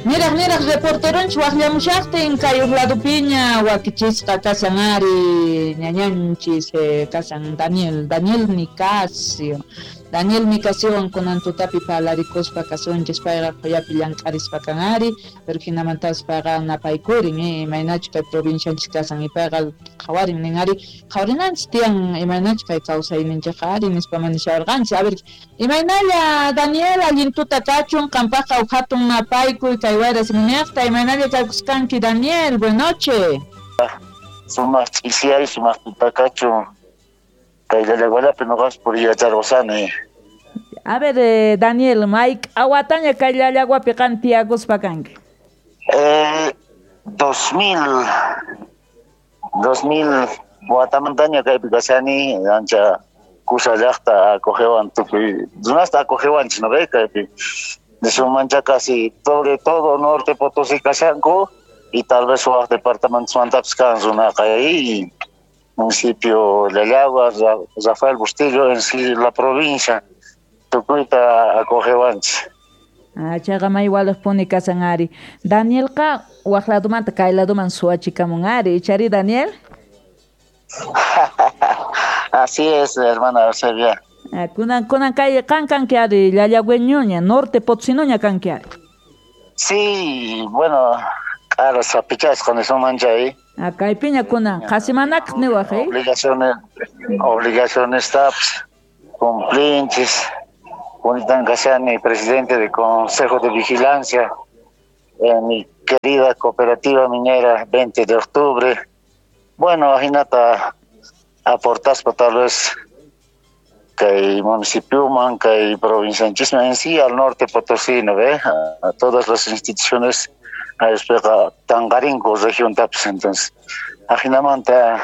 Niraq niraq reporteronchis waqllamushaqtin kay uq ladopiña wakichisqa kashan ari ñañanchis kashan Daniel Nicasio. Daniel Nicasiowan kunan tutapi parlarikuspa kasunchis, payqa qhuyapi llank'arispa kan ari, pero hinamantapas payqa napaykurin, imaynachu kay provincianchis kasan, y payqa qhawarin nin ari, qhawarinanchis tiyan imaynachu kay kawsayninchikqa ari nispa manishawarqanchis. A ver, imaynalla Daniel, allin tuta kachun, qampaqqa huk hatun napaykuy kay wayra siminiqta, imaynalla kaykusqanki Daniel, buenas noches. Sumaq ch'isiyay, sumaq tuta kachun. Kay Llallagualapi noqas puriyacharqusani. A ver, Daniel, Mike, awataña kay Llallaguapi qan tiyakuspa kanki? 2000 watamantaña kaypi kashani, ancha kusa llaqta acogewan tukuy, runasta acogewanchis, ¿no ve? Kaypi. Nisunmancha casi sobre todo Norte Potosí kashanku y tal vez waj departamentosmantapis kan runaqa ahí. Municipio Llallagua, Rafael Bustillo, en sí la provincia, tukuyta acogewanchis. Ah, chayqa may walejpuni kasan ari. Danielqa waj ladomanta kay ladoman suwachikamun ari, ichari Daniel? Así es, hermana Eusebia. Ah, kunan kay qan kanki ari, llallagüeñoña, Norte Potosinoña kanki ari. Sí, bueno, k'ara sapichasqa nisunman chay. Ah, kaypiña kunan, qhasimanaq niwaj, eh? Obligaciones taps, cumplinchis. Junitan Kashani, presidente del Consejo de Vigilancia en mi querida cooperativa minera 20 de octubre. Bueno, ajinata aportaspa tal vez que municipio man, que provincianchismo en sí al norte potosino, ¿ve? A todas las instituciones a explica Tangarinco, región taps, entonces ajinamanta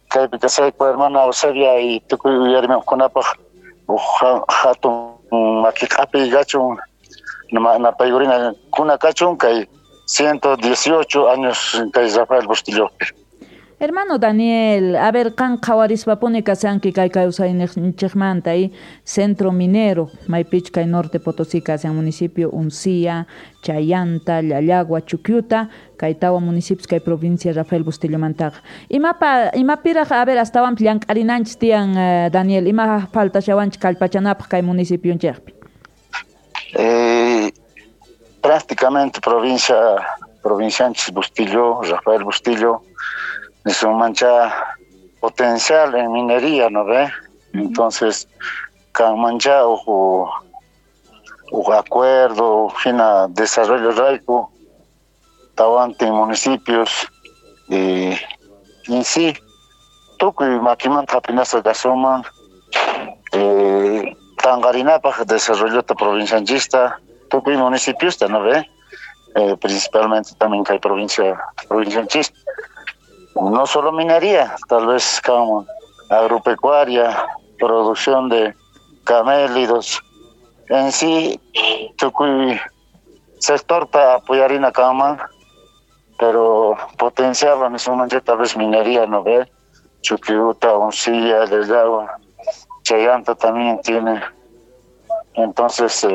kaypi kasayku hermana Eusebia y tukuy uyarimunkunapaj hatun makiq'api kachun napaykurina kuna kachun kay 118 años kay Rafael Bustillopi. Hermano Daniel, a ver, qan qhawarispapuni kasanki kay kawsayninchikmanta y centro minero, maypich kay Norte Potosí kasan municipio Uncía, Chayanta, Llallagua, Chuquiuta, kay tawa municipios kay provincia Rafael Bustillomantaqa. Imapiraq, a ver, astawan llank'arinanchis tiyan, Daniel, ima faltashawanchik kallpachanapaq kay municipionchikpi? Prácticamente provincianchis Bustillo, Rafael Bustillo, es un mancha potencial en minería, ¿no ve? Entonces, can mancha o acuerdo, fina desarrollo raico, tawante en municipios, y en sí, tukuy makimanta hapinasqa kasunman, tanqarinapaq desarrollo provincianchista, tukuy municipiosta, ¿no ve? Principalmente también kay provincianchista. No solo minería, tal vez como agropecuaria, producción de camélidos. En sí, tukuy sector para apoyar cama, pero potencial en ese momento tal vez minería, ¿no ve? Chuquiuta, Uncía, Llallagua, Chayanta también tiene. Entonces,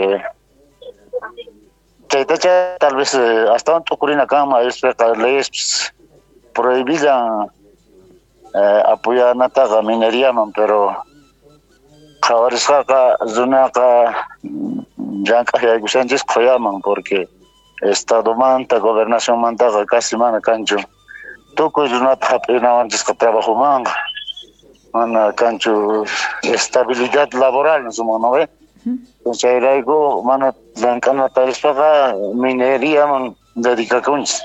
tal vez hasta un tucurina cama, es leyes prohibidan apoyar nataqa mineriaman, pero qhawarisqaqa runaqa llank'aq yaykushanchis qhuyaman, porque estadomanta, gobernacionmantaqa casi mana kanchu. Tukuy runata hap'inawanchisqa trabajomanqa, mana kanchu estabilidad laboral nisuman, ¿no ve? Entonces chayrayku mana llank'anata rispaqa mineriaman dedicakunchis.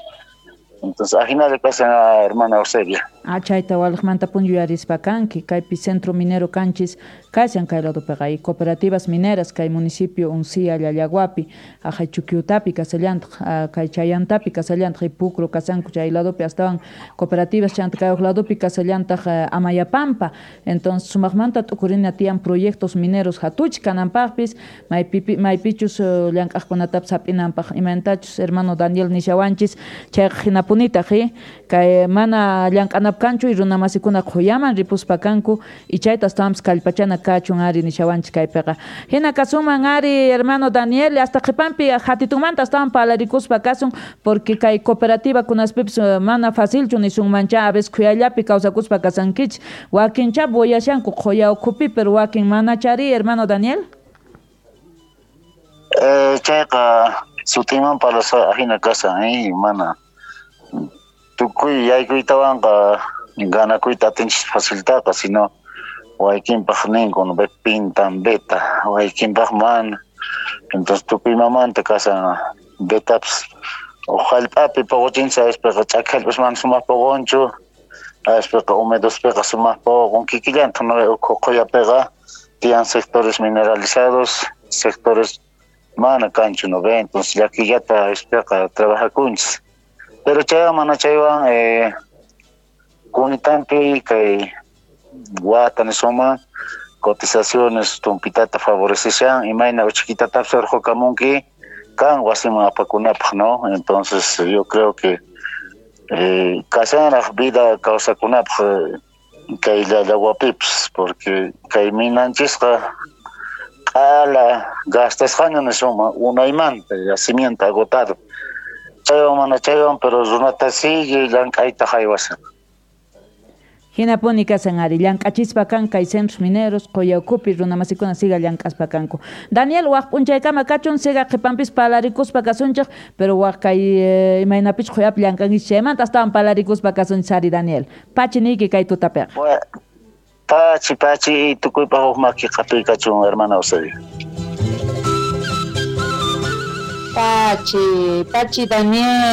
Entonces, ajina kasan hermana Eusebia. Ah, chayta walejmanta pun yuyarispa kanki, kaypi centro minero kanchis kashan kay ladopiqa, y cooperativas mineras kay municipio Uncía, Llallaguapi, ajay Chuquiutapi kasallantaq, kay Chayantapi kasallantaq, y Pucro kasanku chay ladopi astawan cooperativas chanta kay uq ladopi kasallantaq Amayapampa. Entonces, sumaqmanta t'ukurina tiyan proyectos mineros hatuch kananpaqpis, maypichus llank'aqkunatapis hap'inanpaq, imaynatachus hermano Daniel nishawanchis, chayqa hinapunitaq, kay mana llank'anapaq kunapi kanchu y runamasikuna qhuyaman ripuspa kanku y chayta astawanpis kallpachana kachun ari nishawanchis kaypiqa. Hina kasunman ari hermano Daniel, hasta qhipanpi hatitunmanta astawan parlarikuspa kasun, porque kay cooperativa kunaspipis mana facilchu nisunmancha, a veces khuyallapi kawsakuspa kasankichis, wakincha boyashanku qhuya ukhupi, pero wakin manachari, hermano Daniel. Chayqa sutiman parlasqa ajina kasan, mana tukuy yaykuytawanqa ganakuyta atinchis faciltaqa, sino waykinpaq ninku, no ve pintan beta, waykinpaq mana. Entonces tukuy mamanta kasan betapis jallp'api poqochinchis, aspiqa ch'aki jallp'as mana sumaq poqonchu, aspiqa humedospiqa sumaq poqon, kikillantaq no ve ukhu qhuyapiqa tiyan sectores mineralizados, sectores mana kanchu, no ve, entonces llakillata aspiqa trabajakunchis. Pero chaywan mana chaywan kunitampi kay wata nisuma cotizaciones tumpitata favoreceshan imayna uchikitatapis urqukamunki kan wasiman apakunapaq, ¿no? Entonces yo creo que kashanraq vida kawsakunapaq kay llallawapipis, porque kay minanchisqa q'ala gastasqaña nisuma unaymanta yacimiento agotado. Chaywan mana chaywan, pero runata sigue llank'ayta haywashan. Hinapuni kasan ari, llank'achispa kan kay centros mineros, quya ukhupi runamasikuna siga llank'aspa kanku. Daniel, waq p'unchaykama kachun, siga qhipanpis parlarikuspa kasunchik, pero waq kay imaynapich quyapi llank'ankichis chaymanta astawan parlarikuspa kasunchis ari, Daniel. Pachi niyki kay tutapiqa. Pachi, pachi, tukuypaq huk maki qhatuy kachun, hermana Eusebio. Pachi, pachi, Daniel.